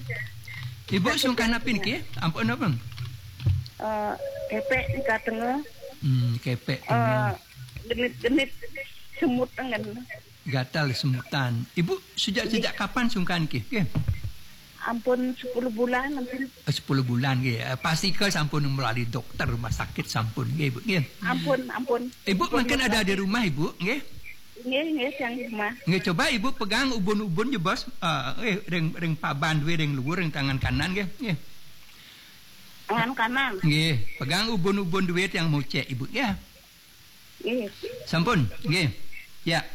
Ibu sungkan napi niki? Ampun napa? Eh, kepek nika tengah. Hmm, kepek tengah. Eh, genit-genit semut tengen. Gatal semutan. Ibu sejak sejak kapan sungkan niki? Nggih. Ampun sepuluh bulan ampun. Eh, sepuluh bulan nggih. Eh, Pastika sampun melalui dokter rumah sakit sampun nggih, Ibu nggih. Ampun, ampun. Ibu mungkin ada di rumah, Ibu nggih. Nggih, nggih, yang di rumah. Nggih, coba Ibu pegang ubun-ubun jebos eh nggih, ring ring paban duwe ring luhur ring tangan kanan nggih. Nggih. Tangan kanan. Nggih, pegang ubun-ubun duwe yang mocek, Ibu nggih. Sampun, nggih. Ya.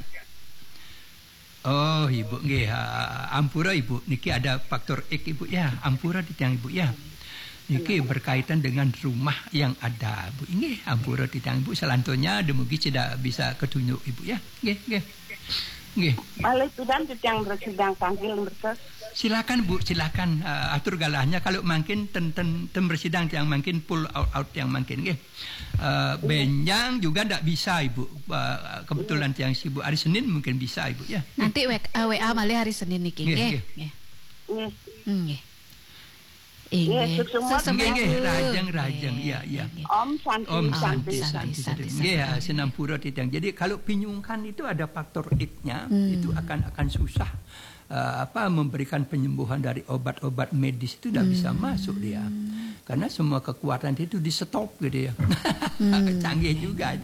Oh, Ibu nggih. Ha, ampura Ibu, niki ada faktor X Ibu ya. Ampura titiang Ibu ya. Niki berkaitan dengan rumah yang ada, Bu. Nggih, ampura titiang Ibu, selanjutnya dumugi tidak bisa ketunjuk Ibu ya. Nggih, nggih. Nggih. Malih pidan titiang bersidang panggil mertos. Silakan Bu, silakan uh, atur galahnya kalau mungkin ten ten, ten bersidang yang mungkin pull out out yang mungkin nggih. Uh, benjang juga ndak bisa Ibu. Uh, kebetulan tiang sibuk. Hari Senin mungkin bisa Ibu ya. Nanti W, uh, W A malih hari Senin niki nggih. Nggih. Nggih. Nggih. Nggih. Nggih, suksma. Suksma, nggih, nggih, Bu. Rahajeng, rahajeng. Nggih, iya, iya. Nggih. Om Santi, Om Santi, Santi, Santi, Santi. Nggih, ya, sinampura titiang. Jadi kalau pinyungkan itu ada faktor X-nya, hmm. Itu akan akan susah uh, apa memberikan penyembuhan dari obat-obat medis itu tidak hmm. Bisa masuk dia. Karena semua kekuatan itu di stop gitu ya. Hmm. Canggih juga.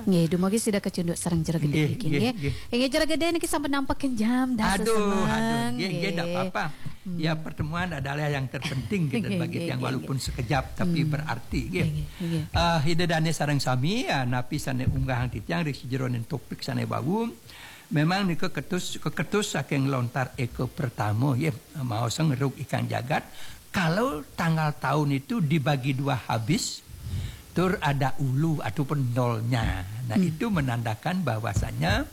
Nggih, dumugi sida kacunduk sareng Jero Gede nggih, niki nggih. Nggih, jero gede niki sampun nampekin jam dah. Aduh, aduh, nggih, nggih, ndak apa-apa. Hmm. Ya, pertemuan adalah yang terpenting gitu bagi tiang walaupun sekejap tapi hmm. Berarti nggih. Nggih, nggih. Uh, Ida Dane sareng sami ya, napi sane unggah titiang ring sajeroning topik sane wau. Memang nika ketus keketus saking lontar eka pertama ya, maos ngeruk ikan jagat. Kalau tanggal tahun itu dibagi dua habis, tur ada ulu ataupun nolnya. Nah, hmm. Itu menandakan bahwasanya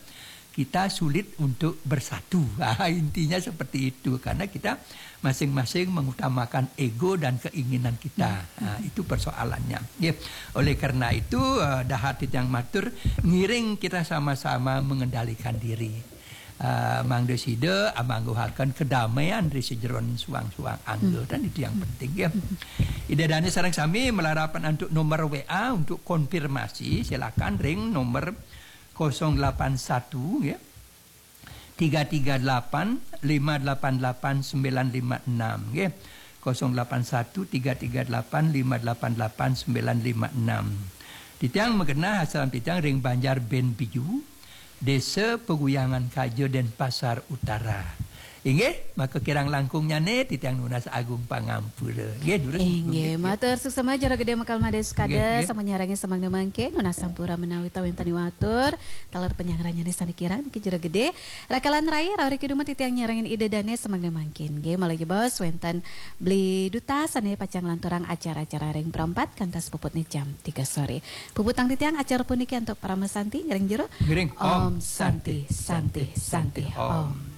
kita sulit untuk bersatu. Ah, intinya seperti itu karena kita masing-masing mengutamakan ego dan keinginan kita. Hmm. Ah, itu persoalannya. Ya. Oleh karena itu uh, dahat yang matur ngiring kita sama-sama mengendalikan diri. Uh, mangda sida amangguhaken kedamaian ri sejeron suang-suang angga hmm. Dan itu yang penting ya. Hmm. Ida Dani sareng sami melarapan untuk nomor W A untuk konfirmasi silakan ring nomor kosong delapan satu ya. Tiga tiga delapan lima delapan delapan sembilan lima enam ya. Kosong delapan satu tiga tiga delapan lima delapan delapan sembilan lima enam. Titiang magenah asal titiang ring Banjar Ben Biju, Desa Peguyangan Kaja, Denpasar Utara. Inggih, maka kirang langkungnyane titiang nunas agung pangampura. Nggih, durus. Inggih, matur suksma Jero Gede Mekal Made Sukada, nggih, nggih. Sama nyarangi samangda mangke nunas sampura menawi tawentani watur, taler penyangrannyane sane kirang niki Jero Gede. Rakalan rai, rawi kiduma titiang nyarengin Ida Dane samangda mangkin. Nggih, malih jebos wenten Beli Duta sane pacang lanturang acara-acara ring perempat kantas puputne jam tiga sore. Puputang titiang acara puniki antuk parama santi ngiring jero. Ngiring. Om Santi, Santi, Santi, Om.